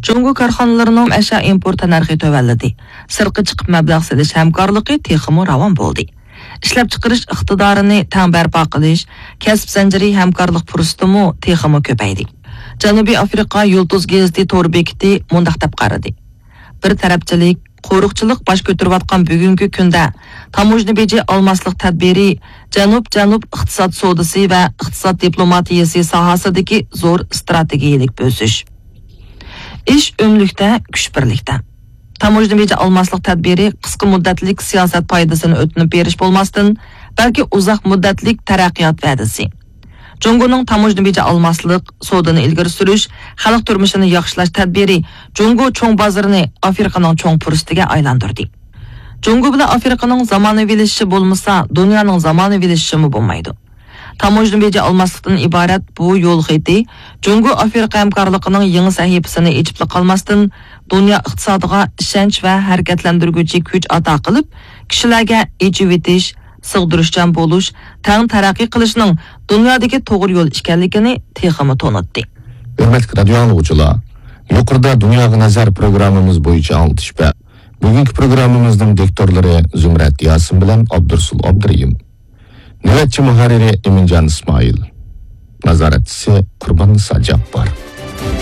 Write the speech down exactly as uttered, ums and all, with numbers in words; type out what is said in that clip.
جۇڭگو كارخانىلىرىنىڭ ئەشيا ئىمپورت تەننەرخى تۆۋەنلىدى. سىرتقا چىقىپ مەبلەغ سېلىش ھەمكارلىقى تېخىمۇ راۋان بولدى. ئىشلەپچىقىرىش ئىقتىدارىنى تەڭ بەرپا قىلىش، كەسىپ زەنجىرى ھەمكارلىق پۇرسىتىمۇ تېخىمۇ كۆپەيدى. جەنۇبىي ئافرىقا يۇلتۇز گېزىتى تور بېكىتى مۇنداق دەپ قارىدى: بىر تەرەپچىلىك، قورۇقچىلىق باش كۆتۈرۈۋاتقان بۈگۈنكى كۈندە تاموژنا بېجى ئالماسلىق تەدبىرى جەنۇب-جەنۇب ئىقتىساد سودىسى ۋە ئىقتىساد دىپلوماتىيەسى ساھەسىدىكى زور ئىستراتېگىيەلىك بۆسۈش. ئىش ئۆملۈكتە، كۈچ بىرلىكتە. تاموژنا بېجى ئالماسلىق تەدبىرى قىسقا مۇددەتلىك سىياسەت پايدىسىنى ئۆتۈنۈپ بېرىش بولماستىن، بەلكى ئۇزاق مۇددەتلىك تەرەققىيات ۋەدىسى. جۇڭگونىڭ تاموژنا بېجى ئالماسلىق، سودىنى ئىلگىرى سۈرۈش، خەلق تۇرمۇشىنى ياخشىلاش تەدبىرى جۇڭگو چوڭ بازىرىنى ئافرىقىنىڭ چوڭ پۇرسىتىگە ئايلاندۇردى. جۇڭگو بىلەن ئافرىقىنىڭ زامانىۋىلىشىشى بولمىسا، دۇنيانىڭ زامانىۋىلىشىشىمۇ بولمايدۇ. تاموژنا بېجى ئالماسلىقتىن ئىبارەت بۇ يول خېتى جۇڭگو ئافرىقا ھەمكارلىقىنىڭ يېڭى سەھىپىسىنى ئېچىپلا قالماستىن، دۇنيا ئىقتىسادىغا ئىشەنچ ۋە ھەرىكەتلەندۈرگۈچى كۈچ ئاتا قىلىپ، كىشىلەرگە ئېچىۋېتىش، سىغدۇرۇشچان بولۇش، تەڭ تەرەققىي قىلىشنىڭ دۇنيادىكى توغرا يول ئىكەنلىكىنى تېخىمۇ تونۇتتى. ھۆرمەتلىك رادىيو ئاڭلىغۇچىلار، يۇقىرىدا دۇنياغا نەزەر پروگراممىمىز بويىچە ئاڭلىتىش بە-، بۈگۈنكى پروگراممىمىزنىڭ دىكتورلىرى زۇمرەت ياسىن بىلەن ئابدۇرۇسۇل ئابدۇرېھىم. نۆۋەتچى مۇھەررىرى ئىمىنجان ئىسمائىل. نازارەتچىسى قۇرباننىسا جاپپار.